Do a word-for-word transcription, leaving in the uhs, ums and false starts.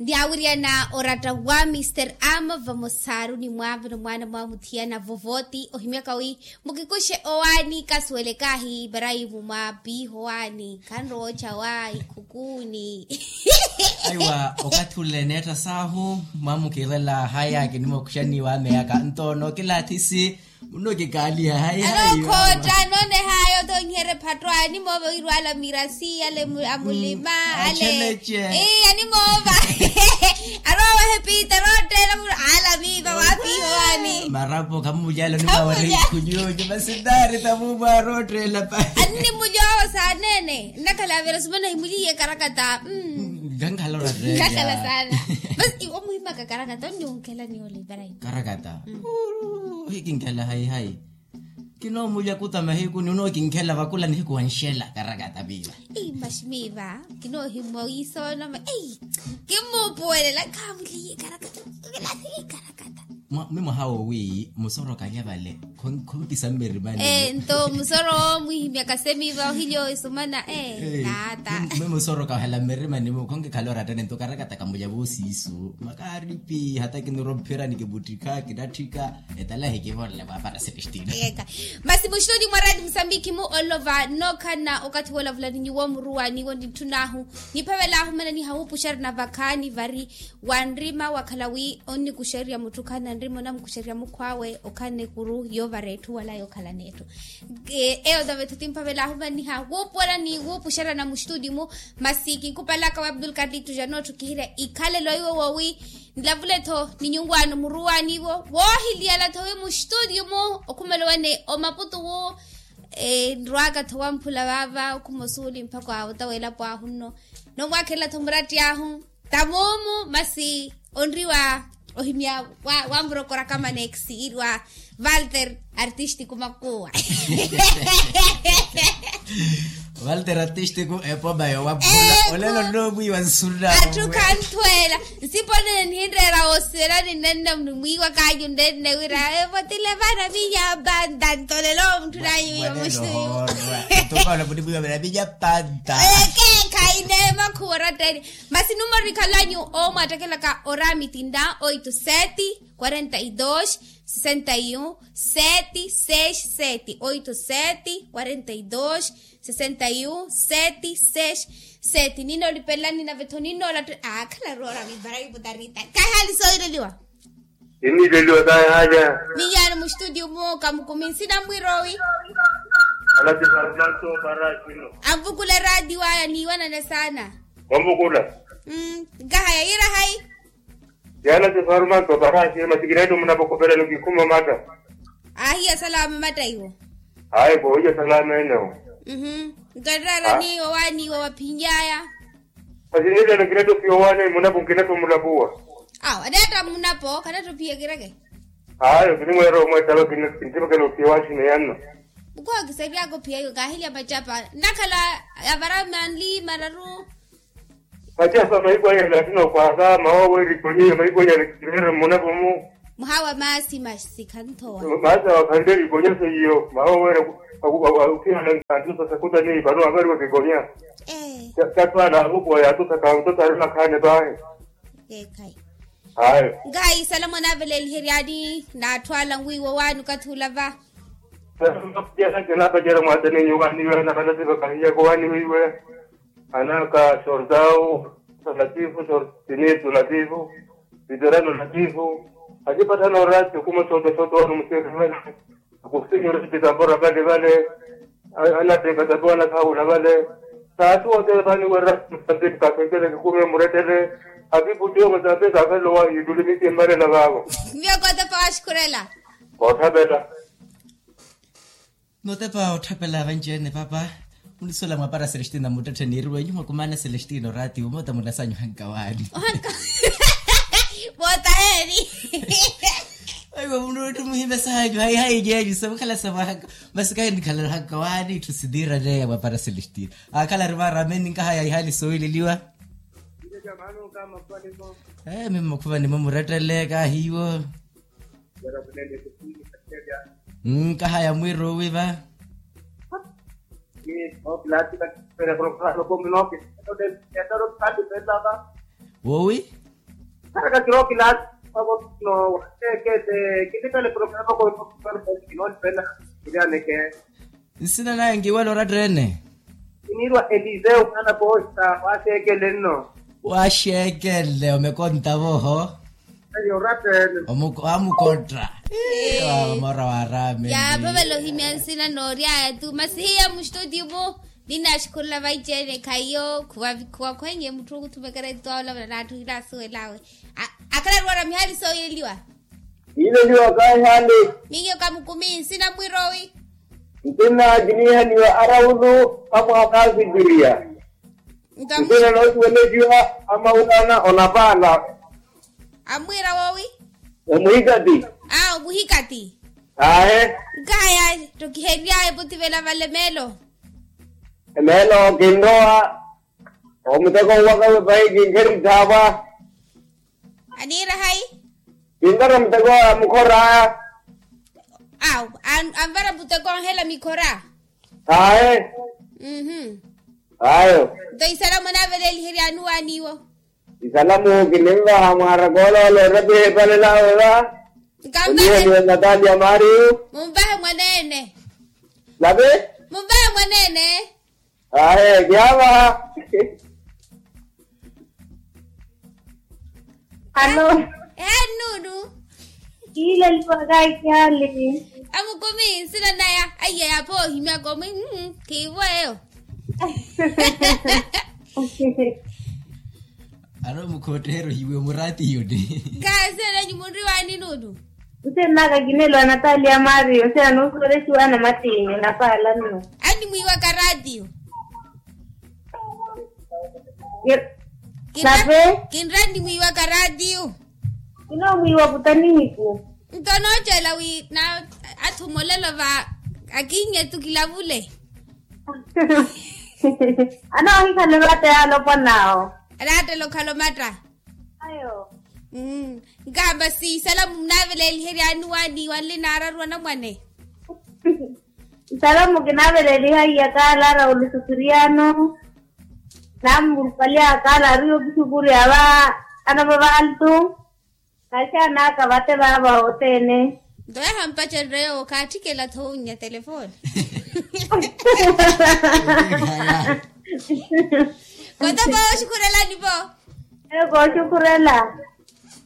Nyaawiriyana oratta wa mister ama vamosaaruni mwaaveno mwaana mwamuthiyana vovoti ohimyaka wi mukikuxe owaani kasuwele kaahi ibraimu mwa piiho waani khanrowa ocha wa ikhukuuni. Aiwa okathi ule neetta saahu mwamukiirela haya kinimokuxani wa meyaka nto nookilaathisi. Muno kikaaliha hayi hayi. Alookhootta noone hayi othonyiherye phatto animoova wirwala mirasi ale amulima ale. Ee animoova. Aroowa ehepita rootteela mulu ala miiva waapiiho waani. Marapo khamulyalo nimaawari ikhunyunyu masitaari tamuumwa rootteela pa. Animulyowo saaneene nnakhala avira sumana himuliye karakata. Nkankhala orattela. Nkankhala saana. Basi iwe omuhimaka karakata onniwunkhela niyo olivera. Karakata. Hikinkhela hayi hayi. Kinoomulya kuta mahiku ni onookinkhela vakula nihiku wanxela karakata miiva. Ei maximiiva. Kinoohimwa wiisoonoma ei. Kimmuupuwelela khamuliye karakata. Karakata. Mwi mwaha woowi musoro kalya vale. Khoonkisa mmirimani. Nto musoro mwiihimyaka semiiva ohilyo esumana. Naata. Mwi musoro kahala mmirimani mu khoonkikhala orattani nto karakata kamulya voosiisu. Kaaripi hata kinirwa ophira nikivuttikha kinatthika. Etalahi kivolela mwaapara celestino. Masi muxitoni mwa raati musambikhi mu olova nookhalana okathi woolavula ni nyuwo muruwaniwo nitthunaahu. Niphavelaahu mana nihahuupuxerya na vakhaani vari wanrima wakhala wi onnikuxerya mutthu okhalana nrima onamukuxerya mukhw'awe okhalana ekuru yoovara etthu wala yookhalana etthu. Eyo tave tho timphavelaahu mana nihahuupuwela ni wuupuxerya na muxituni mu. Masi kinkupalaka wa abdul kalitu janootthukihirya ikhalelo iwo woowi. Nilavule-tho ni nyuwaano muruwaani-wo woohiliyala-tho wi muxituniyu-mu okhumela owane omaputu-wu. Nrwaaka-tho wamphula vaava okhuma osuuli mpakha awo ta weelapo ahu nno. Nomwaakhelela-tho muratti ahu tamuumu masi onriwa ohimya. Wamurokora kamanex iriwa. Valter artistiku makuwa. Walter artistiku epoma yowaphula olelo nnomwiiwa nsurina atthu khanthweela. Nsipo nene nihinreera woosivela ninenna mwiiwa kaanyu nenne wira evotile vana minya panta ntolelo mutthu nayu. Muxituyu. Ntukola munimwiiwa vira minya panta. Ekeekhayi neemakhuwa oratteni. Masi numero ikhalanyu omwaattekelaka oraamitinda oito sete quarenta e dois sessenta e um sete seis sete oito sete quarenta e dois sessenta e um sete seis sete. Ninoolipelelani nave-tho ninoolattela aakhala roora mivara iputarita. Kahaali sooleliwa. Inileliwa kahaali. Miyaani muxitudiyu mu kamukumi nsina mwiroowi. Anvukula eraatiyo aya niiwanane saana. Wamvukula. Nkahaya yiira hayi. Yaana sifarumanto parasi masi kineetto munapokopelano kikhuma matta. Aahiya salama matta iwo. Ayi koohiya salama enewo. Nto ereerani owaani iwo waphinly'aya. Masi nilelo kineetto phiya owaani munapo nkineetto mulapuwa. Awo aneetta munapo khaneetto phiya kireke. Ayo kinimweera omwettalo kintipakela ophiya owaaxina yanno. Mukhookiseriaka ophiya iwo kaahilya macapa nnakhala avara manli mararu. Macapa mahiku aya elattino kwaaka mawooweri konyiya mahiku aya elekireera mmunapo mu. Muhawa maasi masikha nthowa. Maasi awa khanle erikonya seiyo mawoowera. Ophiyana nkantusa sakutani pano avariwa kikonya. Ee. Tattwaala avukuwa yaatusa kantosa ari makhaani paahi. Eekhayi. Ayo. Nkaayi salamo naaveleliheryani n'atthu ala nwiiwa owaani okathi olava. Salamo naapacerya mwaatani nyuwaani iwe anakalasi vakahiyaka owaani weiwe. Anaka sortau, sortinitu latifu sortinitu latifu. Viterano latifu. Acipattana orati okuma soota soota owaani omusirivale. Akusinyora epitambora vale vale. Anatekatapiwa anakhaawula vale. Saati wote vaniwerra musambiki kakhentele kikumi emurettele. Akiputtiwa musambiki akhalelo wahiituli misi emmarela vaavo. Miyo kootepa waxukhurela. Koothapela. Nootepa otthapela vanci-ene papa. Munisuwela mwaapara celestino muttetthe niiriwe nyuwo mwakumaana celestino oraati omoota munasanyu ohanka waani. Ohanka. Moota heeni. Aiwa munuutthu muhimesa hanyu hayi hayi nyenyu samukhala samwahanka. Masi kahi nikhala ohanka waani itthu siniiraneya mwaapara celestino. Aakhala ari vaarami ninkahaya ihaali soowileliwa. Ee mimi makhuva nimwe murettele kahiiwo. Nkahaya mwiiruwi va. Woowi. Kharakakiro kilaasi. Wavo no waseekele. Kinipele programa kono kinoonipela. Kilianeke. Nsina naye nkiwela oratta ene? Kiniirwa eliseu mwaana posta. Waseekele nno. Waxeekele omekonta voho. Ayo oratta ene. Amukotta. Mora warame. Yaaphavela ohimya nsina nooryaya tu masi hiya mustutio mu. Ninnaxikhurela vaiceene khaiyo khuwakhwenye mutthu okuthumekera etwawo olavula naatthukira asuwelawe. Akhala arwara mihaali sooyeliwa. Kiileliwa kaahihale. Miyo kamukumi nsina mwiroowi. Nsinna kiniihaniwa araulu amwaakaasipiriya. Nsinna noosiweleliwa amawulana onapaala. Amwiira woowi? Omuhikati. Aa omuhikati. Aahe. Nkaya ttokiheryaye potivela vale meelo. Meelo kinrowa. Omuteko wakawe pahi kinkherithaapwa. Aniira hayi? Kinvara muteko wa mukhora. Awu anvara muteko onhela mikhora. Aye. Mhm. Ayo. Nto isalamu anaaveleliheryani waaniwo? Isalamu kinimvaha mwaara kooloola orapiha epalelawe va. Nkamvahe. Natalia mario. Mumvahe mwaneene. Lapi. Mumvahe mwaneene. Ahe kiyaavaha. Hano. Ehe nnuunu. Kiileliwa kaikihali. Amukumi nsina naya aiya yaapha ohimyaka omwi. Khiivo eyo. Aro mukhotteheryo hiwe muraatiyoni. Khasenenyu munriwaani nuulu. Nsenaka kineelo anatalia mario nsenanunsuwelexiwa na matinyu napaala nno. Animwiiwaka raatiyo. Nape. Kinra animwiiwaka raatiyo. Kinomwiiwa kutanihiku. Nto nooceela wi na athumolela va akinyetu kilavule. Anoohikhala eratta yaalopwan'awo. Eratta elokhala omatta. Ayo. Nkahamba siisalamu munaaveleliheryani waani wanli naararu anamwane. Nsalamu kinaaveleliha iya kaala araulu sukiriyano. Nampalya kaala ariyo kisukurya va ana vavantu. Naxanaka vate vava othene. Nto yahampacererya yowo khaatthikela thoonya telefoni. Koto kooxukhurelani vo. Eyo kooxukhurela.